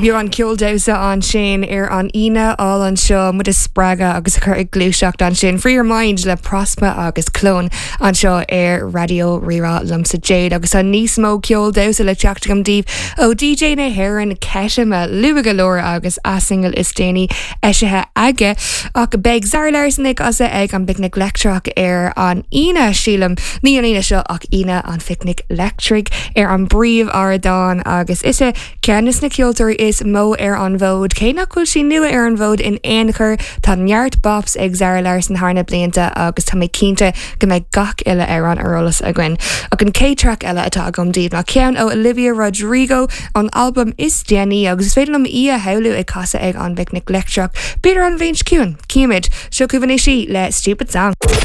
Beagán ceol damhsa ansin ar an Aoine álainn seo, muid a spreagadh agus a chur ag gluaiseacht ansin. Free Your Mind le Prospa agus Clone anseo ar Raidió Rí-Rá liomsa Jade agus tá níos mó ceol damhsa le teacht agam daoibh ó DJ na hÉireann Ketema luath go leor agus a single is déanaí eisithe aige. Ach beidh Zara Larsson ag casadh ag an bPicnic Leictreach ar an Aoine, sílim, ní an Aoine seo ach Aoine an Phicnic Leictrigh ar an bpríomh-ardán agus ise ceann de na ceoltóirí is mó ar an bhfód. Cé nach bhfuil sí nua ar an bhfód in aon chor, tá neart bops ag Zara Larsson thar na blianta agus tá mé cinnte go mbeidh gach uile amhrán ar eolas againn. Ach an chéad traic eile atá agam daoibh ná ceann ó Olivia Rodrigo, ón albam is déanaí agus is féidir liom í a shamhlú ag casadh ag an bPicnic Leictreach, b'fhéidir an bhliain seo chugainn. Cífimid. Seo chugaibh anois í le Stupid Song.